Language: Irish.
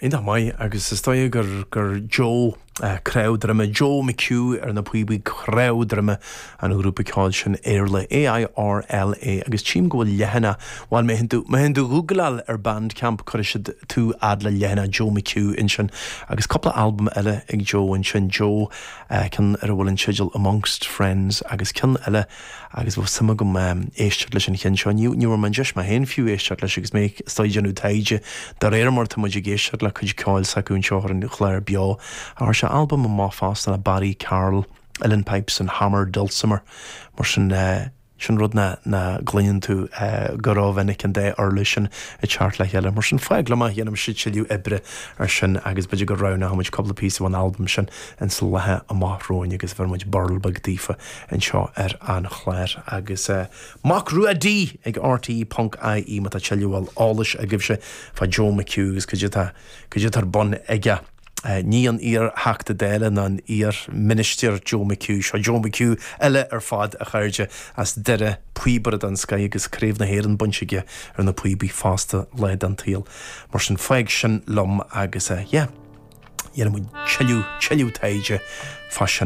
Iontach maith, agus is dóigh gur gur Joe Cnámh Droime, Joe McHugh ar na píobaí, Cnámh Droime an ghrúpa ceoil sin, Airla, A-I-R-L-A, agus tchím go bhfuil leathanach, bhuel má théann tú, má théann tú ghoogleáil ar Bandcamp cuirfidh siad tú fhad le leathanach Joe McHugh ansin agus cúpla albam eile ag Joe ansin, Joe, ceann ar a bhfuil an teideal Amongst Friends agus ceann eile agus bheadh suim agam éisteacht leis an cheann seo. Ní ní bhfuair mé an deis mé féin fiú éisteacht leis agus mé is dóigh ag déanamh taighde de réir mar atá muid ag éisteacht le cuid ceoil s'acu anseo ar an chlár Beo. Chuir sé albam amach fosta le Barry Carroll, Uilleann Pipes and Hammer Dulcimer. Mar sin sin rud nach gcluineann tú go rómhinic an dá uirlis sin ag teacht le chéile. Mar sin fág liom é, déanfaimse tuilleadh oibre ar sin agus b'fhéidir go roghnóidh muid cúpla píosa ón albam sin ins na laetha amach romhainn agus bheir muid burl beag daofa anseo ar an chlár agus Mac Rua D ag RTÉ ponc IE má tá tuilleadh eolais agaibhse fá Joe McHugh agus cad é atá cad é atá ar bun aige. Ní an iar-Theachta Dála ná an iar-Ministir Joe McHugh, seo Joe McHugh eile ar fad a chairde as Doire, píobaire den scoith agus Craobh na hÉireann bainte aige ar na píobaí fosta lá den tsaol. Mar sin fág sin liom agus yeah. Dhéanfaidh muid tuilleadh, tuilleadh taighde fá sin.